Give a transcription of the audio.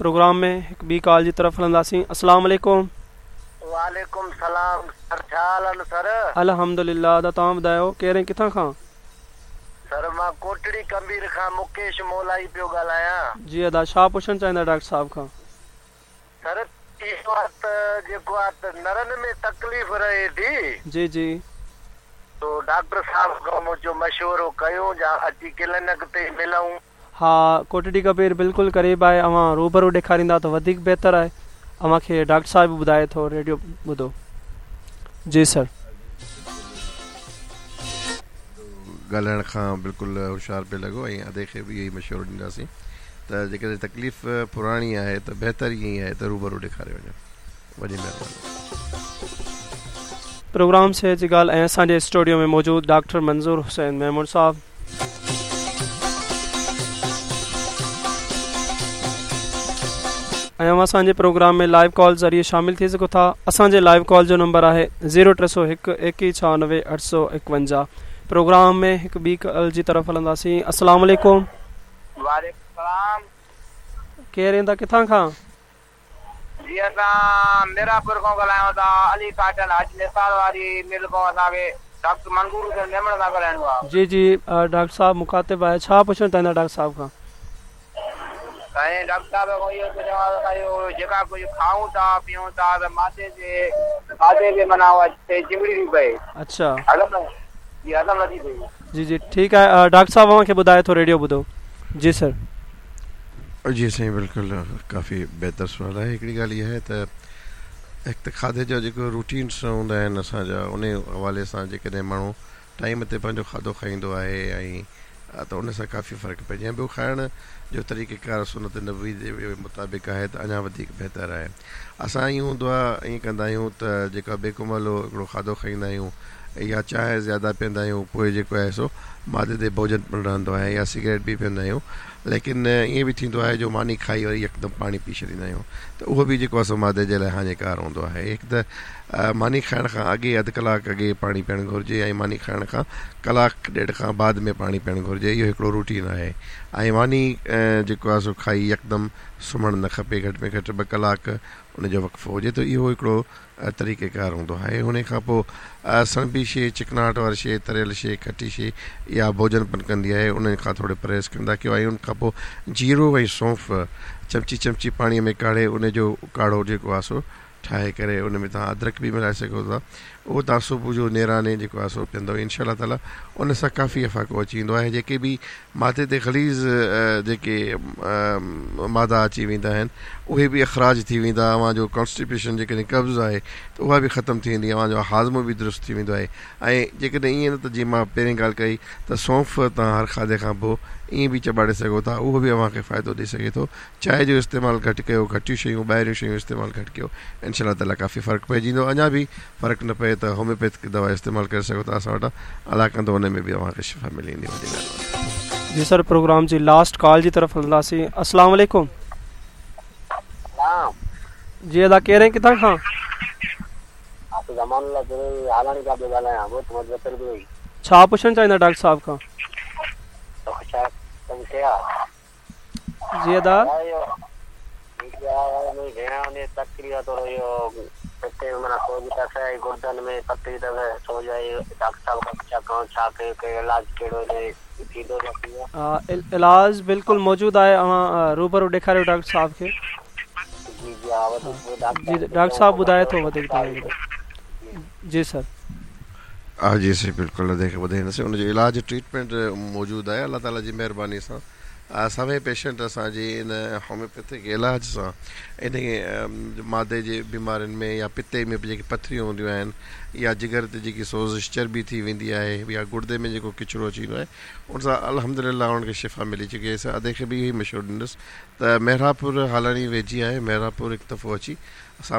Programme ۾ هڪ ٻي call جي طرف هلنداسين السلام عليڪم. وعليڪم سلام سر ڇا حال آهن سر. الحمدلله ادا توهان ٻڌايو ڪير ۽ ڪٿان کان. سر مان ڪوٽڙي ڪمبير کان مڪيش مولائي پيو ڳالهايان. جي ادا ڇا پڇڻ چاهيندا ڊاڪٽر صاحب کان. سر اهو آ ته جيڪو آ ته نرن ۾ تڪليف رهي ٿي. جي جي. سو ڊاڪٽر صاحب کان مون چيو مشورو ڪيون جا اچي ڪلينڪ تي ملون. ها ڪوٽڙي ڪبير بلڪل قريب آهي اوهان روبرو ڏيکاريندا ته وڌيڪ بهتر آهي اوهان کي ڊاڪٽر صاحب به ٻڌائي ٿو ريڊيو ٻڌو جي سر. ڳالهائڻ کان بلڪل هوشيار پئي لڳو ۽ ادي کي به اهو ئي مشورو ڏينداسين ته جيڪڏهن تڪليف پراڻي آهي ته بهتر ائين ئي آهي ته روبرو ڏيکاري وڃو. وڏي مهرباني. پروگرام صحت جي ڳالهه ۽ اسان جي اسٽوڊيو ۾ موجود ڊاڪٽر منظور حسين ميمڻ صاحب. ۽ اوهان اسان جي پروگرام ۾ لائيو ڪال ذريعي شامل ٿي سگهو ٿا اسان جي لائيو ڪال جو نمبر آهي زيرو 301 21 96 851 پروگرام ۾ هڪ ٻي ڪال جي طرف هلنداسين السلام عليڪم. وعليڪم السلام. ڪير ايندا ڪٿان کان. جي اسان ميراپور کان ڳالهايون ٿا علي ڪاٽن حاجي نثار واري مل کان اسان کي ڊاڪٽر منظور حسين ميمڻ سان ڳالهائڻو آ. جي جي ڊاڪٽر صاحب مخاطب آهي ڇا پڇڻ چاهيندا ڊاڪٽر صاحب کان. سائين ڊاڪٽر صاحب کان اهو پڇڻو آ ته اسان اهو جيڪا ڪجهه کائون ٿا پيئون ٿا ته معدي تي کاڌي تي معنيٰ اها شيء چنبڙي ٿي پئي. اڇا. هضم جي هضم نٿي ٿئي. جي جي ٺيڪ آهي ڊاڪٽر صاحب اوهان کي ٻڌائي ٿو ريڊيو ٻڌو جي سر. جي سائين بلڪل ڪافي بهتر سوال آهي هڪڙي ڳالهه اها آهي ته هڪ ته کاڌي جا جيڪو روٽينس هوندا آهن اسان جا انهي حوالي سان جيڪڏهن ماڻهو ٽائيم تي پنهنجو کاڌو کائيندو آهي ۽ ته ان سان ڪافي فرق پئجي ۽ ٻيو کائڻ جو طريقه ڪار سنت نبوي جي مطابق آهي ته اڃا وڌيڪ بهتر آهي اسان ائين هوندو آهي ائين ڪندا آهيون ته جيڪا بيڪو مهلو هڪڙو کاڌو کائيندا آهيون يا چانهه زياده پيئندا آهيون پوء جيڪو آهي سو معدي تي بوجن پڻ رهندو آهي يا سگريٽ به پيئندا آهيون ليڪن ائين به ٿيندو آهي جو ماني کائي وري يڪدم پاڻي پي ڇڏيندا آهيون ته اهو به جيڪو آهي سو معدي جي لاء هاڃيڪار هوندو آهي هڪ ته ماني کائڻ کان اڳي اڌ ڪلاڪ اڳي پاڻي پيئڻ گهرجي ۽ ماني کائڻ کان ڪلاڪ ڏيڍ کان بعد ۾ پاڻي پيئڻ گهرجي اهو هڪڙو روٽين آهي ۽ ماني جيڪو آهي سو کائي يڪدم سمهڻ نه کپي گهٽ ۾ گهٽ ٻه ڪلاڪ ان جو وقفو هجي ته اهو هڪڙو طريقه ڪار هوندو آهي. انهي کان پوء سڻڀي شيء، چڪناهٽ واري شيء، تريل شيء، کٽي شيء اها بوجن پڻ ڪندي آهي، انهن کان ٿوري پرهيز ڪندا ڪيو ۽ ان کان پوء جيرو ۽ سونف چمچي چمچي پاڻي ۾ ڪاڙهي ان جو ڪاڙهو جيڪو آهي سو ٺاهي ڪري ان ۾ توهان ادرڪ به ملائي سگهو ٿا اهو توهان صبح جو نيراني جيڪو آهي سو پيئندؤ انشاء الله تعالي ان سان ڪافي افاقو اچي ويندو آهي جيڪي به معدي تي غليظ جيڪي مادا اچي ويندا آهن اهي به اخراج ٿي ويندا اوهان جو ڪانسٽيپيشن جيڪڏهن قبض آهي ته اها به ختم ٿي ويندي اوهان جو هاضمو به درست ٿي ويندو آهي ۽ جيڪڏهن ائين نه ته جيئن مان پهرين ڳالهه ڪئي ته سونف توهان هر کاڌي کان پوء ائين به چٻاڙي سگهو ٿا اهو به اوهان کي فائدو ڏئي سگهي ٿو چانهه جو استعمال گهٽ ڪيو گهٽيون شيون ٻاهريون شيون استعمال گهٽ ڪيو انشاء الله تعالي ڪافي فرق پئجي ويندو اڃا به فرق نه پئي ته هوميوپيٿڪ دوا استعمال ڪري سگهو ٿا اسان وٽان الله ڪندو ان ۾ به اوهان کي شفا ملي ويندي وڏي مهرباني. جي سر پروگرام جي لاسٽ ڪال جي طرف هلنداسين السلام عليڪم. سلام. جي ادا ڪير ۽ ڪٿان کان. امان الله بروهي هالاڻي کان پيو ڳالهايان ڳوٺ مدثر بروهي. ڇا پڇڻ چاهيندا ڊاڪٽر صاحب کان. جي ادا. علاج بلڪل موجود آهي اوهان روبرو ڏيکاريو ڊاڪٽر صاحب کي جي ڊاڪٽر صاحب ٻڌائي ٿو وڌيڪ توهان کي جي سر. ها جي سائين بلڪل ادي کي ٻڌائينداسين ان جو علاج ٽريٽمينٽ موجود آهي الله تعالي جي مهرباني سان سوين پيشنٽ اسان جي ان هوميوپيٿڪ علاج سان انهي معدي جي بيمارين ۾ يا پتي ۾ به جيڪي پٿريون هونديون آهن يا جگر تي جيڪي سوزش چربي ٿي ويندي آهي يا گڙدي ۾ جيڪو ڪچرو اچي ويندو آهي ان سان الحمدلله انهن کي شفا ملي چڪي آهي ادي کي به اهو ئي مشورو ڏيندس ته محرابپور هالاڻي ويجهي آهي محرابپور هڪ دفعو اچي اسان.